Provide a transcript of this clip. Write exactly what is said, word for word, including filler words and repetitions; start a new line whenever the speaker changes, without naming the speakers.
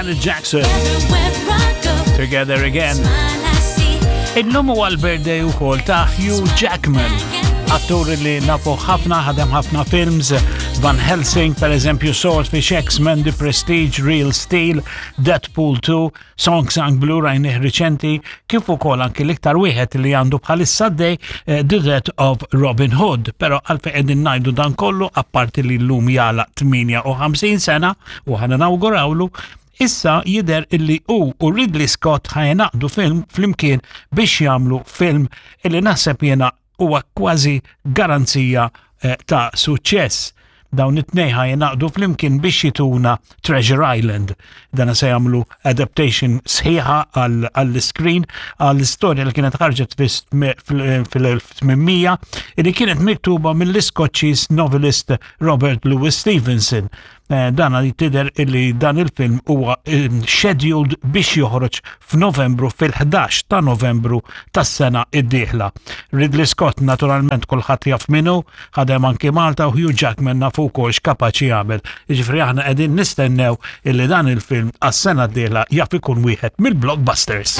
Janet Jackson. Together Again. Illum huwa l-birthday ukoll ta' Hugh Jackman, attur li nafu ħafna, ħadem ħafna films, Van Helsing, per eżempju, Swordfish, X-Men, The Prestige, Real Steel, Deadpool two, Song Sang Blue rajnih riċenti, kif ukoll anki l-iktar wieħed li għandu bħalissa dej eh, The Death of Robin Hood. Però għalfejn qegħdin ngħidu dan kollu, apparti li llum jagħlaq tmienja u ħamsin sena u ħana nawgurawlu? Issa jider illi u u Ridley Scott ħa jingħaqdu film flimkien biex jagħmlu film illi naħseb jena huwa kważi garanzija eh, ta' suċċess. Dawn it-tnejn ħa jingħaqdu flimkien biex jituna Treasure Island. Dana se jagħmlu adaptation sħiħa għall-screen għall-istorja li kienet ħarġet fil-elf tmien mija li kienet miktuba mill-Iskoċċiż novelist Robert Louis Stevenson. Eh, dana li tidher illi dan il-film huwa eh, scheduled biex joħroġ f'Novembru, fil-ħdax ta' Novembru tas-sena id-dieħla. Ridley Scott naturalment kulħadd jaf minnu, ħadem anki Malta, u Hugh Jackman nafu wkoll x'kapaċi jagħmel. Jiġifieri aħna qegħdin nistennew illi dan il-film għas-sena d-dieħla jaf ikun wieħed mill-blockbusters.